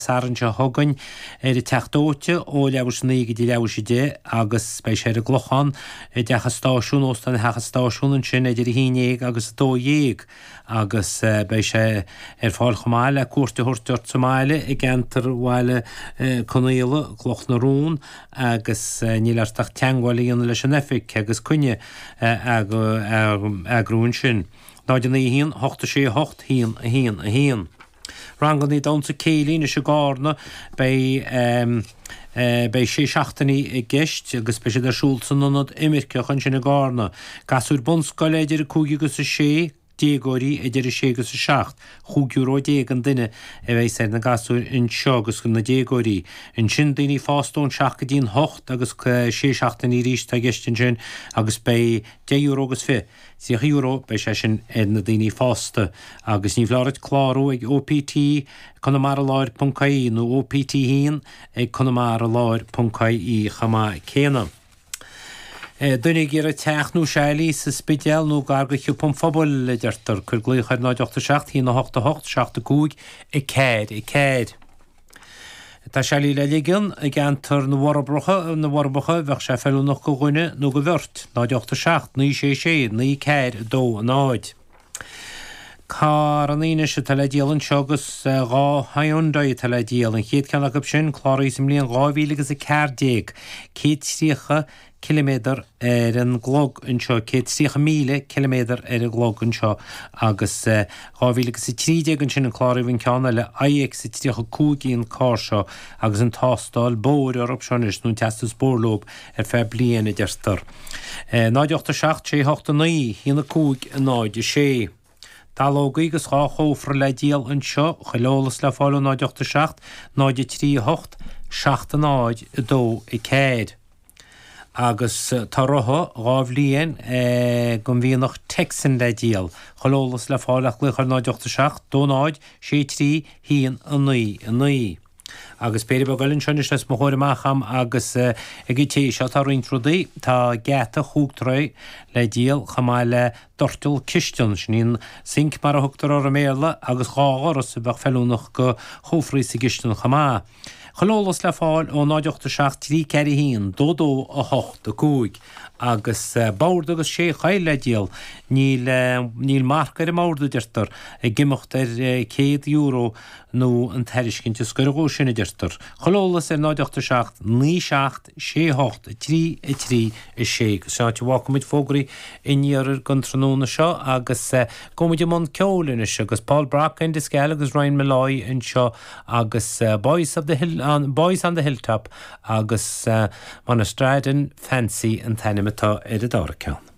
Satharn seo chugainn ar an Teach Dóite ó leathuair tar éis a 9 go dtí leathuair tar éis a 10 agus beidh sé ar an gClochán i dTeach an Stáisiúin, Óstán Theach an Stáisiúin ansin idir 11 agus 12 agus beidh sé ar fáil chomh maith le cuairt a thabhairt ort sa mbaile i gceantar Bhaile Conaola, Cloch na Rón agus níl ort ach teagmháil a dhéanamh leis an oifig agus coinne a eagrú ansin. 0 9 1 8 6 8 1 1 1. Ranganna damhsa céilí anois i gCarna. Beidh beidh sé seachtainí i gceist agus beidh siad ar siúl san Ionad Imirceach ansin i gCarna. Gasúir bunscoile idir 5 agus 6, déagóirí idir 6 agus 7, chúig euro déag an duine a bheas ar na gasúir anseo agus na déagóirí. Ansin daoine fásta ón 7 go dtí an 8 agus sé seachtainí arís atá i gceist ansin agus beidh deich euro agus fiche €30, beidh sé sin ar na daoine fásta agus ní foláir duit clárú ag OPT Conamara Láir ponc ie nó OPT 1 ag Conamara Láir ponc ie chomh maith céanna. Duine ag iarraidh teach nó seilí sa Spidéal nó gar do Shiopa an Phobail, a deirtear, cuir glaoch ar 0 8 7 1 8 8 7 5 4 4. Tá seilí le ligean i gceantar na bhForbracha, na bhForbacha, bheadh sé feiliúnach go dhuine nó go bheirt, 0 8 7 9 6 6 9 4 2 0. Carrannaí anois atá le díol anseo agus 2 Hyundai atá le díol. An chéad ceann acu sin, cláraithe sa mbliain 2014, 130 ciliméadar ar an gclog anseo, 130,000 ciliméadar ar an gclog anseo agus 2013 ansin a cláraíodh an ceann eile, iX35 í an carr seo agus an tástáil bóthair orthu seo anois, nó an teastas bóthair leo ar feadh bliain a deirtear. 0 8 7 6 8 9 1 5 0 6. Dallógaí agus 2 chófra le díol anseo, chuile eolas le fáil ó 0 8 7 0 3 8 7 0 2 4. Agus tá rotha 2 bhliain den mhianach Texan le díol. Chuile eolas le fáil ach glaoch ar 0 8 7 2 0 6 3 1 9 9. Agus péire beag eile anseo anois os mo chomhair amach a'm agus ag an té seo tá roinnt rudaí. Tá geata chúig troigh le díol chomh maith le doirteal cistine, sin í an sinc mar a thugtar orthu i mBéarla, agus 2 dhoras a bheadh feiliúnach go chófraí sa gcistin chomh maith. Chuile eolas le fáil ó 0 8 7 3 4 1 2 2 8 5 agus bord agus sé choill le díol. Níl níl marc ar an mbord a deirtear, ag imeacht ar €100 nó an tairiscint is gaire dhó sin a deirtear. Chuile eolas ar 0 8 7 9 7 6 8 3 3 6 agus sin áit a bhfágfaidh muid fógraí an iarthair don tráthnóna seo agus gabhfaidh muid i mbun ceoil anois agus Paul Brock, Enda Skehill agus Ryan Molloy anseo agus Boys of the Hill, Boys on the Hilltop agus Monastradden Fancy an t-ainm atá ar an dara ceann.